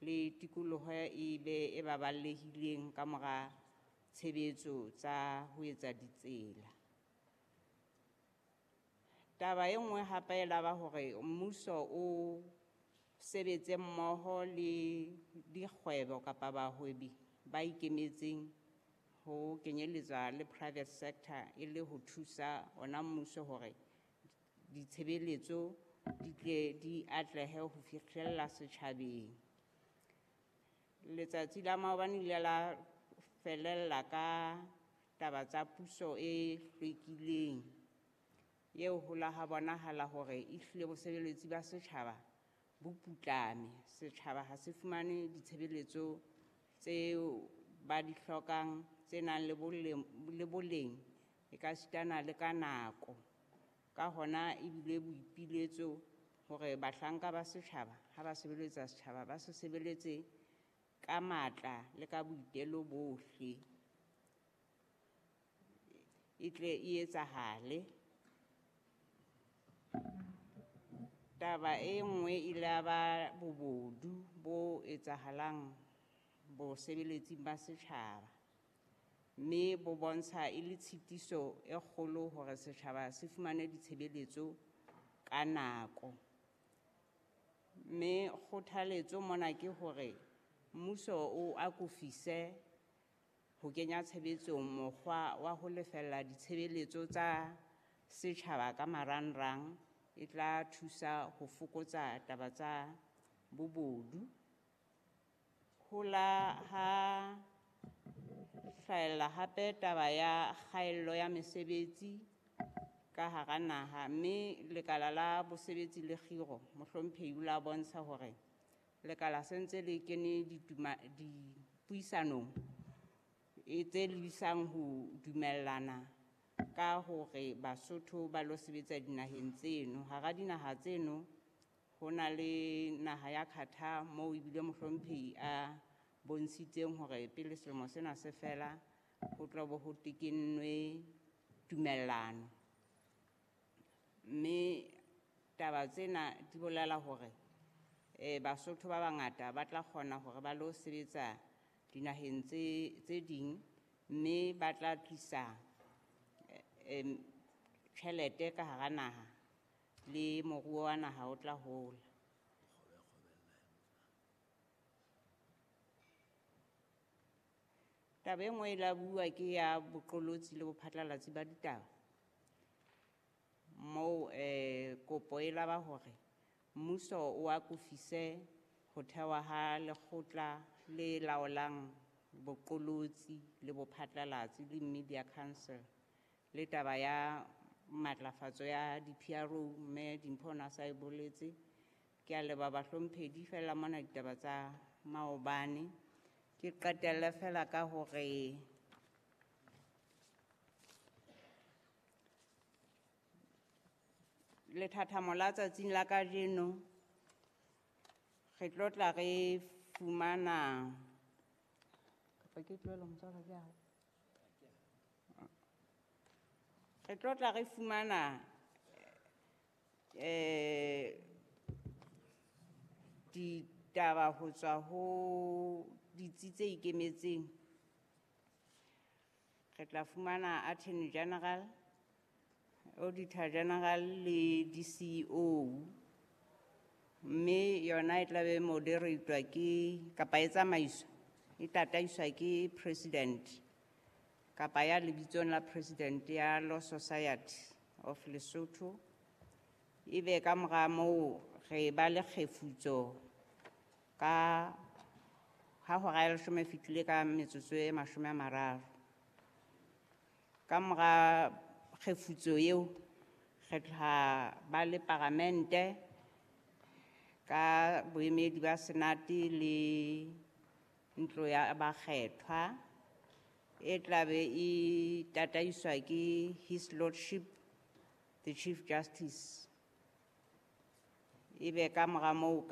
le tikoloho e be e baballehileng ka mora tshebetso tsa ho etsa ditsela. Taba e nngwe hape e laba hore mmuso o sebetse mmoho le dikgwebo kapa bahwebi ba ikemetseng ho kenyelletswa le private sector e le ho thusa ona mmuso hore ditshebeletso di tle di atlehe ho fihlella setjhabeng. Letsatsi la maobane le ile la felella ka taba tsa puso e hlwekileng eo ho la ha bonahala hore ehlile bosebeletsi ba setjhaba bo putlame. Setjhaba ha se fumane ditshebeletso tseo ba di hlokang tse nang le boleng e ka sitana le ka nako. Ka hona ebile boipiletso hore bahlanka ba setjhaba ha ba sebeletsa setjhaba ba se sebeletse ka matla le ka boitelo bohle e tle e etsahale. Taba e nngwe ile ya ba bobodu bo etsahalang bosebeletsing ba setjhaba, mme bo bontsha e le tshitiso e kgolo hore setjhaba se fumane ditshebeletso ka nako. Mme kgothaletso mona ke hore mmuso o akofise ho kenya tshebetsong mokgwa wa ho lefella ditshebeletso tsa setjhaba ka marangrang e tla thusa ho fokotsa taba tsa bobodu. Ho la ha hlahella hape taba ya kgaello ya mesebetsi ka hara naha, mme lekala la bosebetsi le kgiro mohlomphehi o la bontsha hore lekala se ntse le kene dipuisanong e tse lebisang ho dumellana ka hore Basotho ba lo sebetsa dinaheng tseno. Hara dinaha tseno ho na le naha ya Qatar moo ebile mohlomphehi a bontshitseng hore pele selemo sena se fela ho tla bo ho tekennwe tumellano. Mme taba tsena di bolela hore Basotho ba bangata ba tla kgona hore ba lo sebetsa dinaheng tse ding, mme ba tla tlisa tjhelete ka hara naha le moruo wa naha o tla hola. Taba e nngwe e la bua ke ya boqolotsi le bophatlalatsi ba ditaba, moo kopo e laba hore mmuso o akofise ho thewa ha lekgotla le laolang boqolotsi le bophatlalatsi le Media Council, le taba ya matlafatso ya di-P R O, mme Dimpho o na sa e boletse. Ke a leboha bahlomphehi, fela mona ditaba tsa maobane. Ke qetelle fela ka hore lethathamo la tsatsing la kajeno re tlo tla re fumana kapa ke tlohele motswala ke hao? Re tlo tla re fumana ditaba ho tswa ho ditsi tse ikemetseng. Re tla fumana Attorney General, Auditor General le D C O, mme yona e tla be moderatwa ke kapa e tsamaiswa e tataiswa ke President kapa ya lebitsong la President ya Law Society of Lesotho. Ebe ka mora moo re ba le kgefutso ka ha hora ya leshome e fetile ka metsotso e mashome a mararo. Ka mora kgefutso eo re tla ba le paramente ka boemedi ba Senate le ntlo ya bakgethwa e tla be e tataiswa ke His Lordship the Chief Justice. Ebe ka mora moo